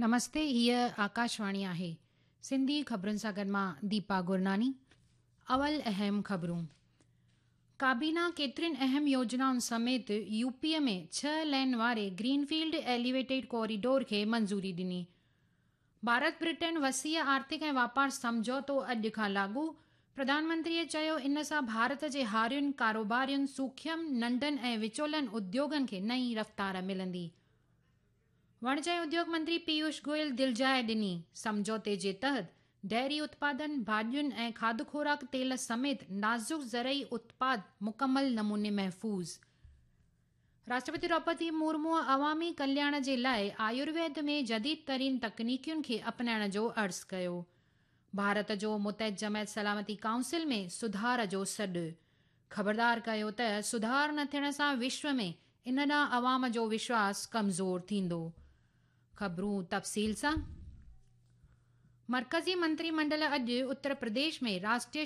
نمستي هيء آڪاشواڻي آهي. سنڌي خبرن سان گڏ مان ديپا گرناني. اول اهم خبرون. ڪابينا ڪيترين اهم يوجنائن سميت يو پي ۾ ڇهه لين واري گرين فيلڊ ايليويٽيڊ ڪوريڊور کي منظوري ڏني. ڀارت برٽين وسيع آرٿڪ ۽ واپار سمجهوتو اڄ کان لاڳو، پرڌان منتريء چيو ان سان ڀارت جي هارين، ڪاروبارين، سوکيم، ننڍن ۽ وچولن اديوگن کي نئين رفتار ملندي. وڻج ۽ اديوگ منتري پيوش گويل دلجاء ڏني، سمجهوتي جي تحت ڊيري اتپادن، ڀاڄين ۽ کاڌ خوراڪ تيل سميت نازڪ زرعي اتپاد مڪمل نموني محفوظ. راشٽرپتي دروپدي مورموء عوامي ڪلياڻ جي لاء آيورويد ۾ جديد ترين تڪنيڪين کي اپنائڻ جو عرض ڪيو. ڀارت جو متحد جماعت سلامتي ڪائونسل ۾ سڌار جو سڏ. خبردار ڪيو ته سڌار نه ٿيڻ سان وشو ۾ ان ڏانهن عوام جو وشواس ڪمزور ٿيندو. خبرون تفصيل سان، مرڪزي منتري منڊل اڄ اتر پرديش ۾ راشٽريه.